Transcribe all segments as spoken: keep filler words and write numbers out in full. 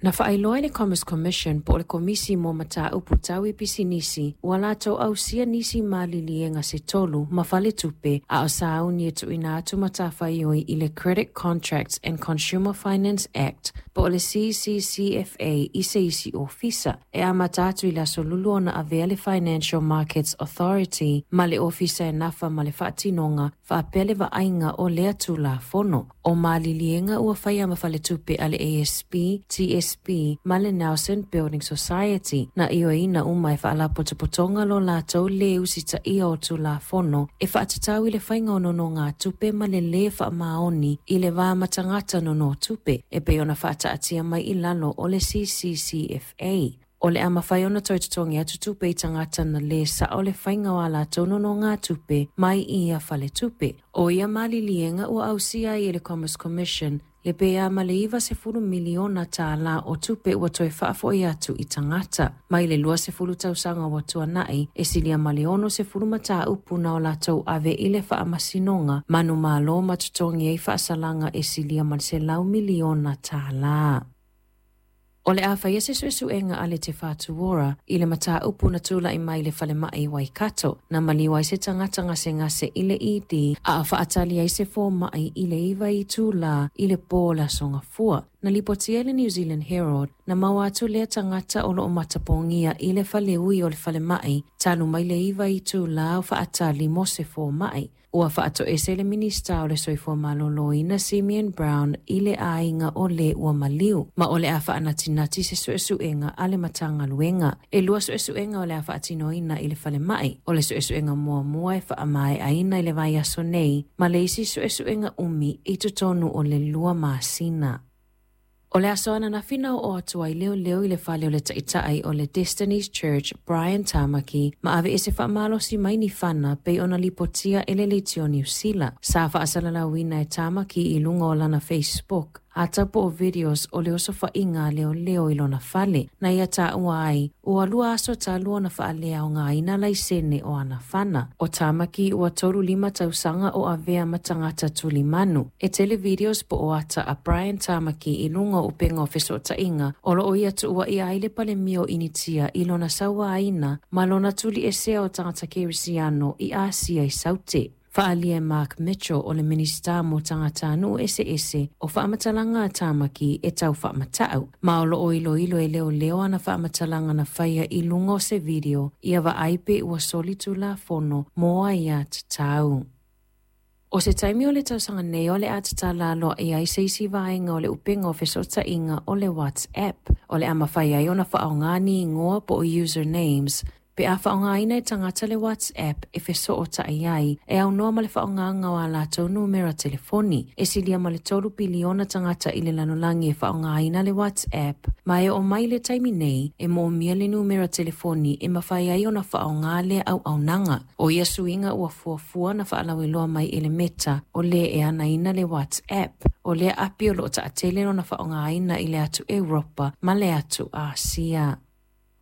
Na faailoa e le Commerce Commission po o le Komisi mo Mataupu Tau i Pisinisi ua latou ausia nisi maliliega se tolu ma faletupe a o sauni e tuuina atu matafaioi i le Credit Contracts and Consumer Finance Act po o le C C C F A i se isi ofisa e amata atu i le aso lulu ona avea le Financial Markets Authority ma le ofisa e nafa ma le faatinoga faapea le vaaiga o lea tulafono. O maliliega ua faia ma faletupe a le A S B, T S B ma le Nelson Building Society na ioeina uma e faalapotopotoga lo latou le usitaia o tulafono e faatatau i le faiga o nonogatupe ma le lē faamaoni i le va ma tagata nonotupe e pei ona faataatia mai i lalo o le C C C F A. O le a mafai ona toe totogi atu tupe i tagata na lē sao le faiga o a latou nonogatupe mai i ia faletupe. O ia maliliega ua ausia ai e le Commerce Commission le pea ma le iwa sefulu miliona tālā o tupe ua toe faafoi atu i tagata. Mai le lua sefulu tausaga ua tuanai, e silia ma le ono sefulu mataupu na o latou ave i le faamasinoga, manumalo ma totogi ai faasalaga e silia ma le selau miliona tālā. O le a whaia se suesuega a le Te Whatu Ora i le mataupu na tula'i mai le falemai i Waikato, na maliu ai se tagata gasegase i le E D, a o faatali ai se fōma'i i le iwa i tūlā i le pō o le aso gafua. Na lipotia e le New Zealand Herald, na maua atu lea tagata o loo matapogia i le faleui o le falemai, talu mai le iwa i tūlā o faatali mo se fōma'i. Ua faatoese le Minista o le Soifua Maloloina Simeon Brown i le aiga o le ua maliu, ma o le a faanatinati se suesuega a le Matagaluega. E lua suesuega o le a faatinoina i le falemai, o le suesuega muamua e faamaeaina i le vaiaso nei, ma le isi suesuega umi i totonu o le lua masina. O le aso ananafi na oo atu ai leoleo i le fale o le taitai o le Destiny's Church Brian Tamaki ma ave e se faamalosi mai ni fana pei ona lipotia e le Leitio Niu Sila. Sa faasalalauina e Tamaki i luga o lana Facebook ata po o videos o le osofaʻiga a leoleo i lona fale. Na ia taua ai, ua lua aso talu ona faaleaogaina laisene o ana fana. O Tamaki ua tolu lima tausaga o avea ma tagata tulimanu. E tele videos po o ata a Brian Tamaki i luga o upega o fesootaiga o loo ia tuuaʻia ai le palemia o Initia i lona sauaina ma lona tuliesea o tagata kerisiano i Asia i Saute. Faalia e Mark Mitchell o le Minista mo tagata nuu eseese o faamatalaga a Tamaki e tau faamatau. Ma o loo iloilo e leoleo ana faamatalaga na faia i luga o se video ia vaai pe ua soli tulafono mo ai tatau. O se taimi o le tausaga nei o le a tatala aloaʻia ai se isi vaega o le upega o fesootaiga o le WhatsApp. O le a mafai ai ona faaaoga ni igoa po o usernames pe a faaaogaina e tagata le WhatsApp e fesootai ai e aunoa ma le faaaogaga o a latou numera telefoni. E silia ma le tolu piliona tagata i le lalolagi e faaaogaina le WhatsApp, ma e oo mai le taimi nei e moomia le numera telefoni e mafai ai ona faaaoga lea auaunaga. O ia suiga ua fuafua na faalauiloa mai e le Meta o le e anaina le WhatsApp. O lea api o loo taatele lona faaaogaina i le atu Europa ma le atu Asia.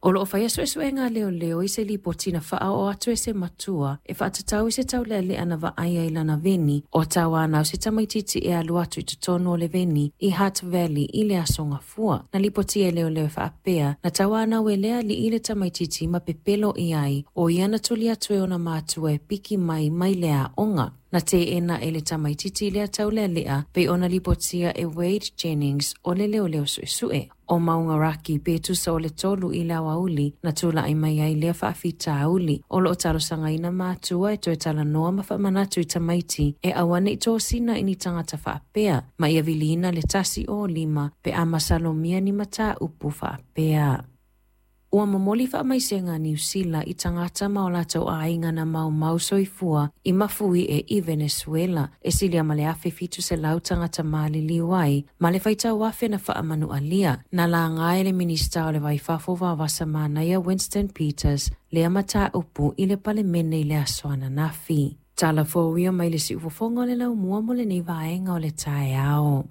O loo whaia suesuega a leoleo i se lipoti na faaoo atu e se matua e faatatau i se taulealea na vaaia i lana veni o tauanau se tamaititi e alu atu i totonu o le veni i Hutt Valley i le aso gafua. Na lipoti e leoleo e faapea na tauanau e lea alii le tamaititi ma pepelo i ai o ia na tuli atu e ona matua e piki mai mai le aoga. Na teena e le tamaititi lea taulealea pei ona lipotia e Wade Jennings o le leoleo suesue. O Maungaraki pe tusa o le tolu i le aoauli na tulaʻi mai ai lea faafitauli. O loo talosagaina matua e toe talanoa ma faamanatu i tamaiti e aua nei tosina i ni tagata faapea ma ia viliina le tasi o lima pe a masalomia ni mataupu faapea. Ua momoli faamaisega a Niu Sila i tagata ma o latou aiga na maumau soifua i mafui e i Venezuela e silia ma le afe fitu selau tagata maliliu ai ma le faitau afe na faamanualia. Na laga e le Minista o le Vaifafo Vavasa Manaia Winston Peters lea mataupu i le palemene i le aso ananafi. Tala fouia mai le siufofoga o le laumua mo lenei vaega o le taeao.